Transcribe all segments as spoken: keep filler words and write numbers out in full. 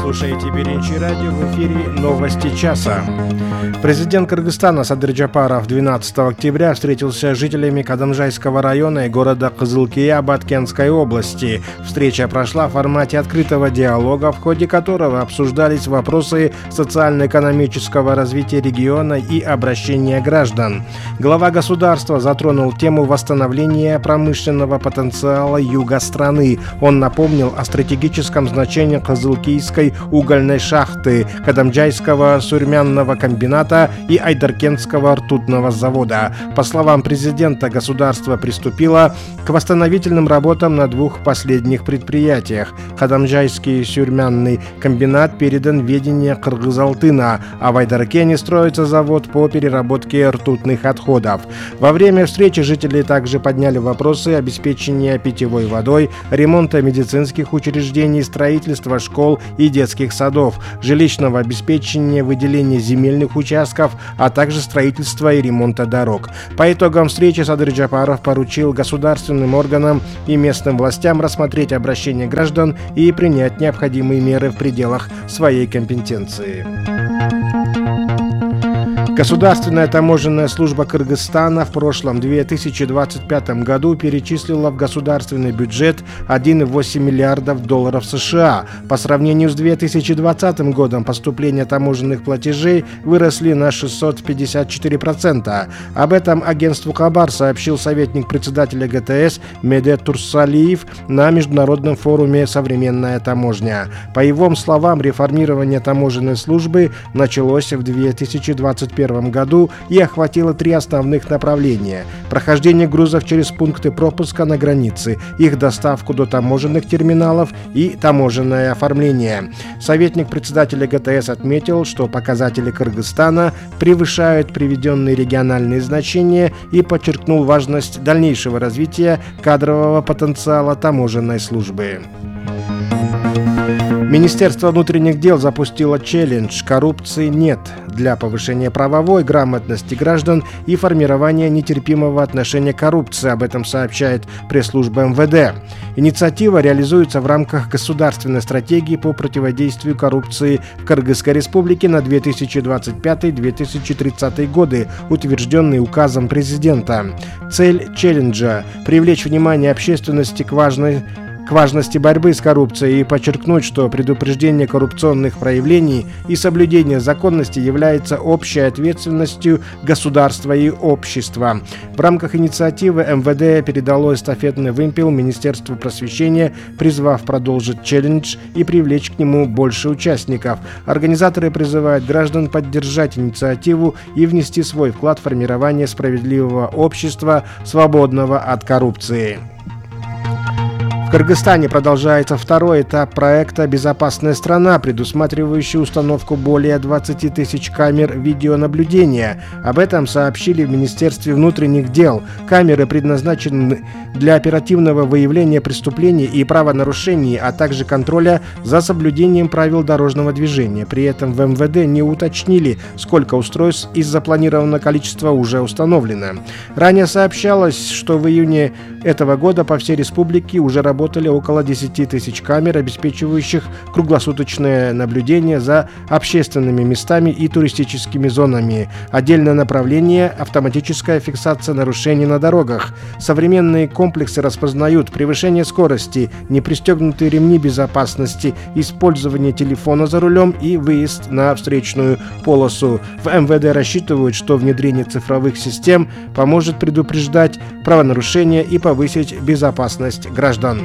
слушаете Биринчи радио, в эфире новости часа. Президент Кыргызстана Садыр Жапаров двенадцатого октября встретился с жителями Кадамжайского района и города Кызылкия Баткенской области. Встреча прошла в формате открытого диалога, в ходе которого обсуждались вопросы социально-экономического развития региона и обращения граждан. Глава государства затронул тему восстановления промышленного потенциала юга страны. Он напомнил о стратегическом значении Кызылкийской угольной шахты, Кадамжайского сурьмянного комбината и Айдаркентского ртутного завода. По словам президента, государство приступило к восстановительным работам на двух последних предприятиях. Кадамжайский сурьмянный комбинат передан в ведение Кыргызалтына, а в Айдаркене строится завод по переработке ртутных отходов. Во время встречи жители также подняли вопросы обеспечения питьевой водой, ремонта медицинских учреждений, строительства школ и детских садов, жилищного обеспечения, выделения земельных участков, а также строительства и ремонта дорог. По итогам встречи Садыр Жапаров поручил государственным органам и местным властям рассмотреть обращения граждан и принять необходимые меры в пределах своей компетенции. Государственная таможенная служба Кыргызстана в прошлом две тысячи двадцать пятом году перечислила в государственный бюджет один и восемь миллиардов долларов США. По сравнению с две тысячи двадцатым годом поступления таможенных платежей выросли на шестьсот пятьдесят четыре процента. Об этом агентству Хабар сообщил советник председателя ГТС Медет Турсалиев на международном форуме «Современная таможня». По его словам, реформирование таможенной службы началось в две тысячи двадцать первом году и охватило три основных направления: прохождение грузов через пункты пропуска на границе, их доставку до таможенных терминалов и таможенное оформление. Советник председателя ГТС отметил, что показатели Кыргызстана превышают приведенные региональные значения и подчеркнул важность дальнейшего развития кадрового потенциала таможенной службы. Министерство внутренних дел запустило челлендж «Коррупции нет» для повышения правовой грамотности граждан и формирования нетерпимого отношения к коррупции. Об этом сообщает пресс-служба эм вэ дэ. Инициатива реализуется в рамках государственной стратегии по противодействию коррупции в Кыргызской республике на две тысячи двадцать пятый — две тысячи тридцатый годы, утвержденный указом президента. Цель челленджа – привлечь внимание общественности к важной к важности борьбы с коррупцией и подчеркнуть, что предупреждение коррупционных проявлений и соблюдение законности является общей ответственностью государства и общества. В рамках инициативы эм вэ дэ передало эстафетный вымпел Министерству просвещения, призвав продолжить челлендж и привлечь к нему больше участников. Организаторы призывают граждан поддержать инициативу и внести свой вклад в формирование справедливого общества, свободного от коррупции. В Кыргызстане продолжается второй этап проекта «Безопасная страна», предусматривающий установку более двадцати тысяч камер видеонаблюдения. Об этом сообщили в Министерстве внутренних дел. Камеры предназначены для оперативного выявления преступлений и правонарушений, а также контроля за соблюдением правил дорожного движения. При этом в эм вэ дэ не уточнили, сколько устройств из запланированного количества уже установлено. Ранее сообщалось, что в июне этого года по всей республике уже работают Работали около десяти тысяч камер, обеспечивающих круглосуточное наблюдение за общественными местами и туристическими зонами. Отдельное направление – автоматическая фиксация нарушений на дорогах. Современные комплексы распознают превышение скорости, непристегнутые ремни безопасности, использование телефона за рулем и выезд на встречную полосу. В эм вэ дэ рассчитывают, что внедрение цифровых систем поможет предупреждать правонарушения и повысить безопасность граждан.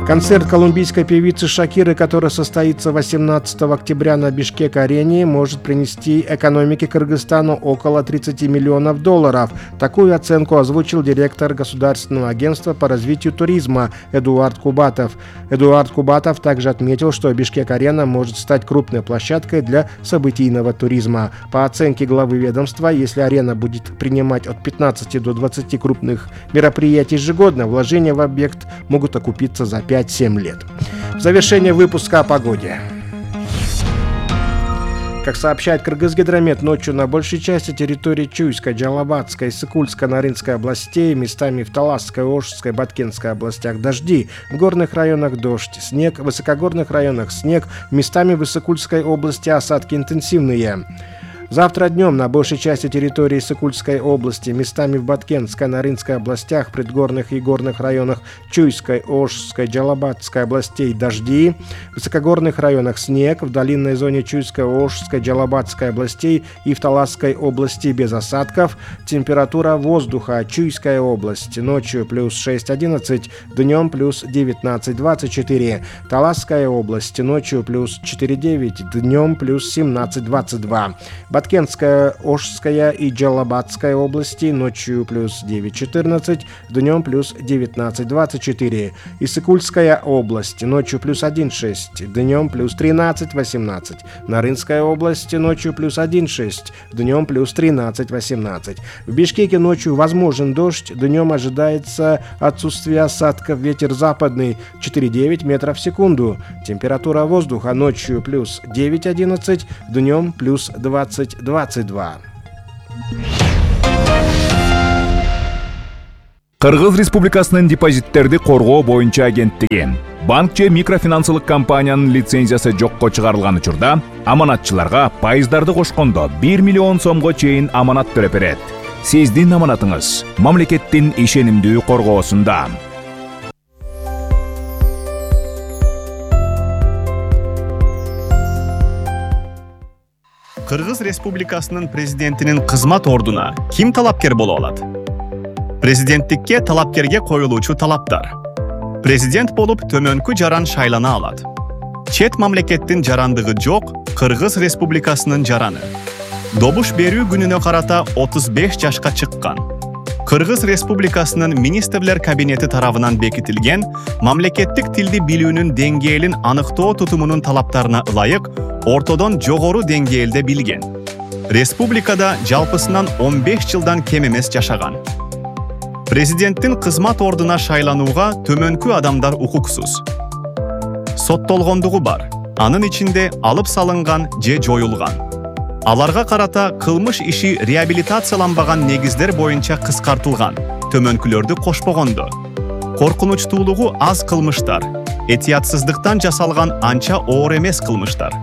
Концерт колумбийской певицы Шакиры, который состоится восемнадцатого октября на Бишкек-арене, может принести экономике Кыргызстану около тридцати миллионов долларов. Такую оценку озвучил директор Государственного агентства по развитию туризма Эдуард Кубатов. Эдуард Кубатов также отметил, что Бишкек-арена может стать крупной площадкой для событийного туризма. По оценке главы ведомства, если арена будет принимать от пятнадцати до двадцати крупных мероприятий ежегодно, вложения в объект могут окупиться за пять-семь лет. В завершение выпуска о погоде. Как сообщает Кыргызгидромет, ночью на большей части территории Чуйской, Джалабатской, Сыкульской, Нарынской областей, местами в Таласской, Ошской, Баткенской областях дожди, в горных районах дождь, снег, в высокогорных районах снег, местами в Исыкульской области осадки интенсивные. Завтра днем на большей части территории Сыкульской области, местами в Баткенской, Нарынской областях, предгорных и горных районах Чуйской, Ошской, Джалабатской областей дожди, в высокогорных районах снег, в долинной зоне Чуйской, Ошской, Джалабатской областей и в Таласской области без осадков. Температура воздуха: Чуйская область ночью плюс шесть одиннадцать, днем плюс девятнадцать двадцать четыре, Таласская область ночью плюс четыре девять, днем плюс семнадцать двадцать два. Баткенская, Ошская и Джалабатская области ночью плюс девять четырнадцать, днем плюс девятнадцать двадцать четыре. Исыкульская область ночью плюс один шесть, днем плюс тринадцать восемнадцать. Нарынская область ночью плюс один шесть, днем плюс тринадцать восемнадцать. В Бишкеке ночью возможен дождь, днем ожидается отсутствие осадков, ветер западный четыре девять метров в секунду. Температура воздуха ночью плюс девять одиннадцать, днем плюс двадцать двадцать два. Кыргыз Республикасынын депозиттерди коргоо боюнча агенттиги банк же микрофинансылык компаниянын лицензиясы жокко чыгарылган учурда аманатчыларга пайыздарды кошкондо бир миллион сомго чейин аманат төлөп берет. Сиздин аманатыңыз мамлекеттин ишенимдүү коргоосунда. Кыргыз Республикасынын президентинин кызмат ордуна ким талапкер боло алат? Президенттикке талапкерге коюлуучу талаптар. Президент болуп төмөнкү жаран шайлана алат. Чет мамлекеттин жарандыгы жок Кыргыз Республикасынын жараны. Добуш берүү күнүнө карата отуз беш жашка чыккан. Кыргыз Республикасынын министрлер кабинети тарабынан бекитилген мамлекеттик тилди билүүнүн деңгээлин аныктоо тутумунун талаптарына ылайык ортодон жогору деңгээлде билген. Республикада жалпысынан он беш жылдан кем эмес жашаган. Президенттин кызмат ордуна шайланууга төмөнкү адамдар укуксуз. Соттолгондугу бар. Анын ичинде алып салынган же жоюлган. Аларга карата кылмыш иши реабилитацияланбаган негиздер боюнча кыскартылган. Төмөнкүлөрдү кошпогондо. Коркунучтуулугу аз кылмыштар, этиятсыздыктан жасалган анча оор эмес кылмыштар.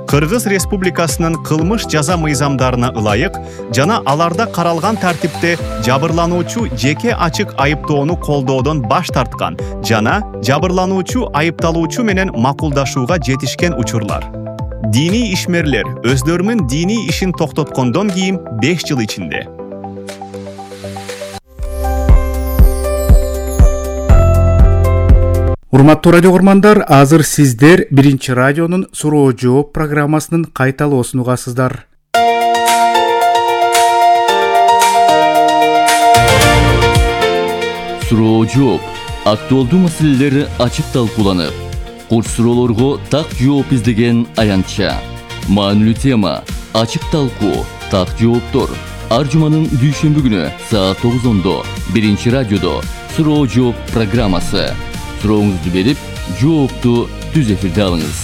Кыргыз Республикасынын кылмыш жаза мыйзамдарына ылайык жана аларда каралган тартипте жабырлануучу жеке ачык айыптоону колдоодон баш тарткан жана жабырлануучу айыпталуучу менен макулдашууга жетишкен учурлар. Дини ишмерлер өздөрүнүн дини ишин токтоткондон кийин беш жыл ичинде. Урматтуу радио көрмандар, азыр сиздер биринчи радионун суроо жооп программасынын кайталоосун угасыздар. Суроо жооп актуалдуу маселелер ачык талкууланып, курч суроолорго так жооп издеген аянтча. Маанилүү тема, ачык талкуу, так жооптор. Ар жуманын дүйшөмбү күнү саат тогузондо биринчи радиодо суроо жооп программасы. Сурооңузду берип, жоопту түз эфирде алыңыз.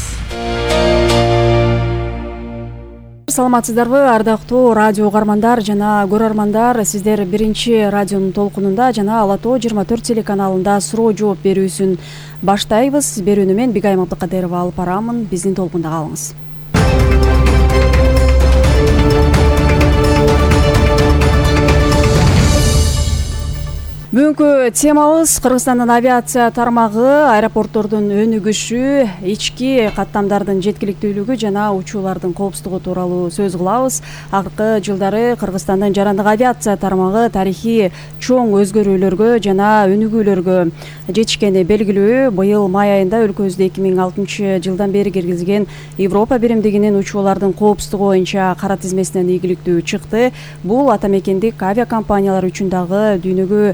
Саламатсыздарбы, ардактуу радио угармандар жана көрөрмандар. Сиздер биринчи радионун толкунунда жана Ала Тоо жыйырма төрт телеканалында суроо жооп берүүсүн баштайбыз. Берүүнү мен Бигайым Абдыкадырова алып барамын. Биздин толкунда калыңыз. Бүгүнкү темабыз Кыргызстандын авиация тармагы аэропорттордун өнүгүшү, ички каттамдардын жеткиликтүүлүгү жана учуулардын коопсуздугу тууралуу сөз кылабыз. Акыркы жылдары Кыргызстандын жарандык авиация тармагы тарыхый чоң өзгөрүүлөргө жана өнүгүүлөргө жетишкени белгилүү. Быйыл май айында өлкөбүздө эки миң алтынчы жылдан бери киргизген Европа биримдигинин учуулардын коопсуздугу боюнча кара тизмесинен ийгиликтүү чыкты. Бул ата мекендик авиакомпаниялар үчүн дагы дүйнөгө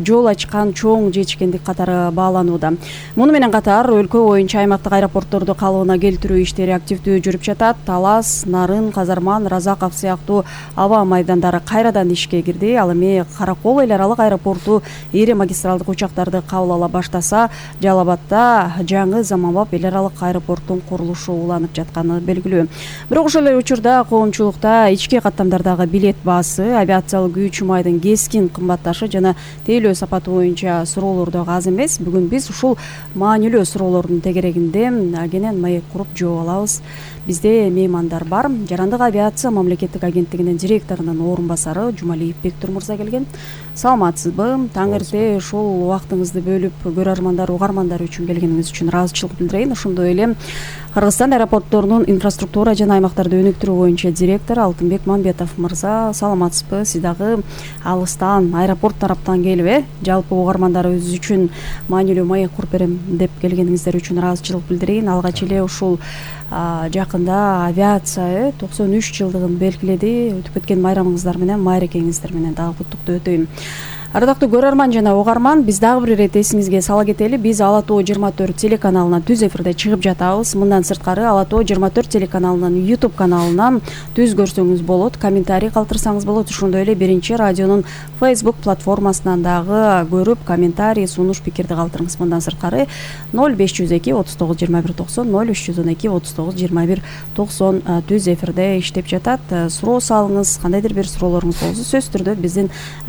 жол ачкан чоң жетишкендик катары бааланууда. Муну менен катар өлкө боюнча аймактык аэропортторду калыбына келтирүү иштери активдүү жүрүп жатат. Талас, Нарын, Казарман, Разаков сыяктуу аба майдандары кайрадан ишке кирди. Ал эми Каракол эл аралык аэропорту ири магистралдык учактарды кабыл ала баштаса, Жалал Абадда жаңы заманбап эл аралык аэропорттун курулушу уланып жатканы белгилүү. Бирок ошол эле учурда коомчулукта ички каттамдардагы билет баасы, авиациялык күч майдын кескин кымбатташы жана тейлөө сапаты боюнча суроолор да аз эмес. Бүгүн биз ушул маанилүү суроолордун тегерегинде кенен маек куруп жооп алабыз. Бизде меймандар бар. Жарандык авиация мамлекеттик агенттигинин директорунун орун басары Жумалиев Бектур мырза келген. Саламатсызбы? Таң эрте ушул убактыңызды бөлүп көрөрмандар, угармандар үчүн келгениңиз үчүн ыраазычылык билдирейин. Ошондой эле Кыргызстан аэропортторунун инфраструктура жана аймактарды өнүктүрүү боюнча директору Алтынбек Мамбетов мырза, саламатсызбы? Сиз дагы алыстан аэропорт тараптан келип, э, жалпы угармандарыбыз үчүн маанилүү маек куруп берем деп келгениңиздер үчүн ыраазычылык билдирейин. Алгач эле ушул жакында авиация токсон үч жылдыгын белгиледи. Өтүп кеткен майрамыңыздар менен, майрекеңиздер менен дагы куттуктуу өтөйм. Ардактуу көрөрман жана угарман, биз дагы бир ирет эсиңизге сала кетели. Биз Ала Тоо жыйырма төрт телеканалынан түз эфирде чыгып жатабыз. Мындан сырткары Ала Тоо жыйырма төрт телеканалынын YouTube каналынан түз көрсөңүз болот, комментарий калтырсаңыз болот. Ошондой эле биринчи радионун Facebook платформасынан дагы көрүп, комментарий, сунуш, пикирди калтырыңыз. Мындан сырткары ноль беш жүз эки отуз тогуз жыйырма бир токсон, ноль үч жүз он эки отуз тогуз жыйырма бир токсон түз эфирде иштеп жатат. Суроо салыңыз, кандайдыр бир суроолоруңуз болсо сөзсүз түрдө биздин